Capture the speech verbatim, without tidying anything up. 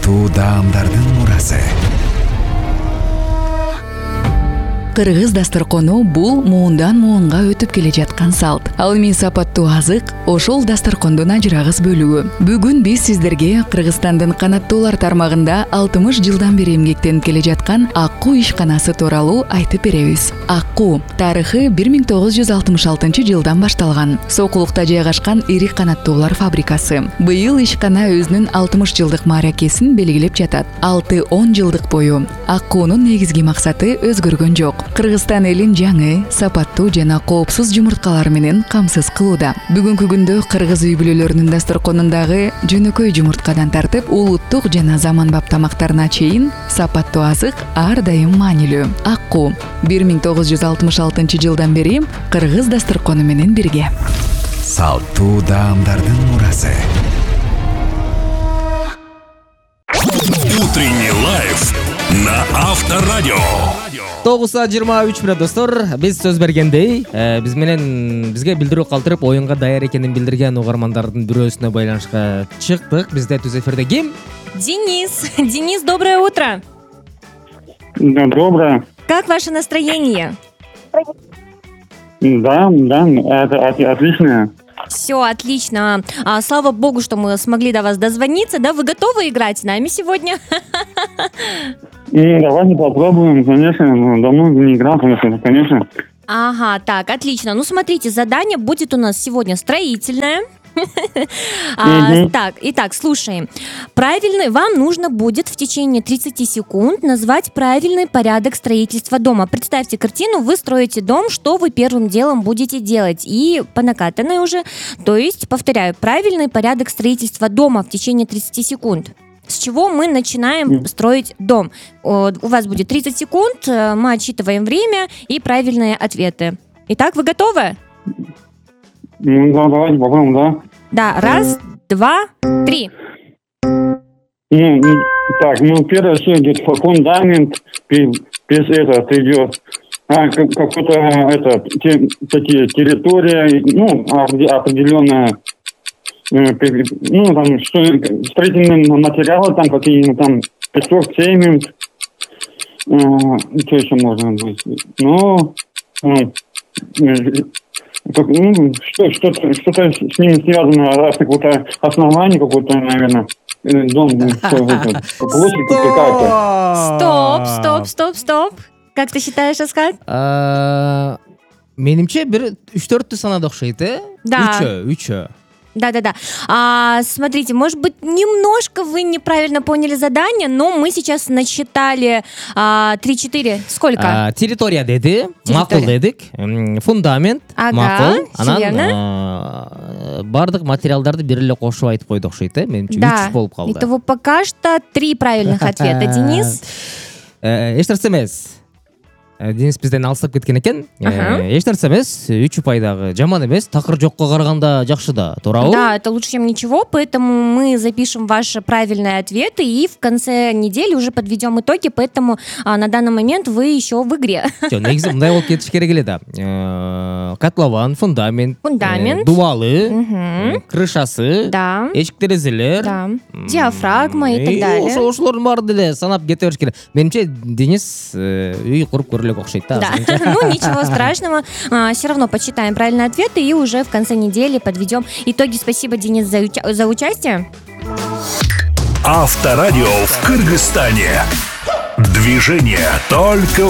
Салтуу даамдардын мурасы. Кыргыз дасторкону бул муундан муунга өтүп келе жаткан салт. Ал эми сапаттуу азык ошол дасторкондун ажырагыс бөлүгү. Бүгүн биз сиздерге Кыргызстандын канаттуулар тармагында алтымыш жылдан бери эмгектенип келе жаткан Аккуу ишканасы тууралуу айтып беребиз. Аккуу тарыхы бир миң тогуз жүз алтымыш алтынчы жылдан башталган. Сокулукта жайгашкан ири канаттуулар фабрикасы. Быйыл ишкана өзүнүн алтымыш жылдык мааракесин белгилеп жатат. алты он жылдык бою Аккуунун негизги максаты өзгөргөн жок. Кыргызстан элин жаңы, сапаттуу жана коопсуз жумурткалар менен камсыз кылууда. Бүгүнкү күндө кыргыз үй бүлөлөрүнүн дасторконундагы жөнөкөй жумурткадан тартып улуттук жана заманбап тамактарына чейин сапаттуу азык ар дайым маанилүү. Аккуу бир миң тогуз жүз алтымыш алтынчы жылдан бери кыргыз дасторкону менен бирге. Салтуу даамдардын мурасы. Утренний лайф на Авторадио. тогуз саат жыйырма үч мүнөт достор. Биз сөз бергендей, биз менен бизге билдирүү калтырып оюнга даяр экенин билдирген угармандардын бирөөсүнө байланышка чыктык. Бизде түз эфирде ким? Денис. Денис, доброе утро. Да, доброе. Как ваше настроение? Да, да, это от- отлично. Все отлично. А, слава богу, что мы смогли до вас дозвониться. Да, вы готовы играть с нами сегодня? И давайте попробуем, конечно, ну, давно не играл, конечно, конечно. Ага, так, отлично. Ну, смотрите, задание будет у нас сегодня строительное. А, Мгм. Так, итак, слушаем. Правильный, вам нужно будет в течение тридцати секунд назвать правильный порядок строительства дома. Представьте картину, вы строите дом, что вы первым делом будете делать? И по накатанной уже, то есть, повторяю, правильный порядок строительства дома в течение тридцати секунд. С чего мы начинаем строить дом? О, У вас будет тридцать секунд, э, мы отсчитываем время и правильные ответы. Итак, вы готовы? Ну, да, давайте попробуем, да. Да, раз, два, три. Ну, ну, так, ну, первое, все идет фундамент, без этого идет а, как- какой-то, это, те- такие территория, ну, опре- определенная, э, пе- ну, там, что, строительные материалы, там, какие-то там, песок, цемент, э, что еще можно быть, ну, э, э, как- ну, что, что-то, что-то с ними связано, раз какое-то основание какое-то, наверное, э, дом, ну, что это, площадь какая-то. Стоп, стоп, стоп, стоп. Как ты считаешь, Аскат? А, Менимче бир үч төрттү санады окшойт, э? Да. Үчөө, үчөө. Да-да-да. А, смотрите, может быть, немножко вы неправильно поняли задание, но мы сейчас насчитали а, три-четыре. Сколько? А, Территория деди, макул дедик, м, фундамент, Ага, макул, всё анан верно. а, бардык материалдарды бир эле кошуп айтып койду окшойт, э? Менимче Да. үч болуп калды. Итого пока что три правильных ответа, Денис. Э, Эч нерсе эмес. Э, Денис бизден алыстап кеткен экен. Э, Ага. Эч нерсе эмес, үч упайдагы жаман эмес, такыр жокко караганда жакшы да, туурабы? Да, это лучше, чем ничего, поэтому мы запишем ваши правильные ответы и в конце недели уже подведем итоги, поэтому а, на данный момент вы еще в игре. Жок, негизи мындай болуп кетиш керек эле да. Э, Котлован, фундамент, Фундамент. э, дубалы, Мгм. э, крышасы, Да. эчик терезелер, Да. м, Диафрагма и так и далее. ошо- ошолордун баарын деле санап кете бериш керек. Менимче Денис э, үй куруп көрө элек окшойт да. Да, азырынча. ну ничего страшного, все равно подсчитаем правильные ответы и уже в конце недели подведем итоги. Спасибо, Денис, за, уча- за участие. Авторадио в Кыргызстане. Движение только